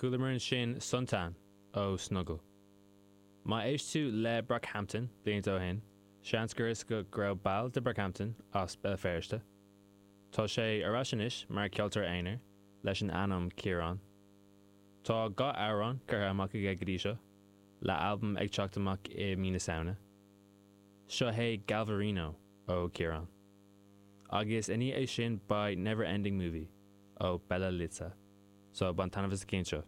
Chualamar ansin Suntan ó Snuggle. Má éist tú le Brockhampton blianta ó shin, seans gur fhios agat go raibh ball de Brockhampton as Béal Feirste. Tá sé ar ais anois mar cheoltóir aonair leis an ainm Ciarán. Tá 2 amhrán curtha amach aige go dtí seo, le albam ag teacht amach i mí na Samhna. Seo é Galvarino ó Ciarán. Agus i ndiaidh é sin beidh Never Ending Movie ó Bella Litsa. So bain taitneamh as an gceann seo.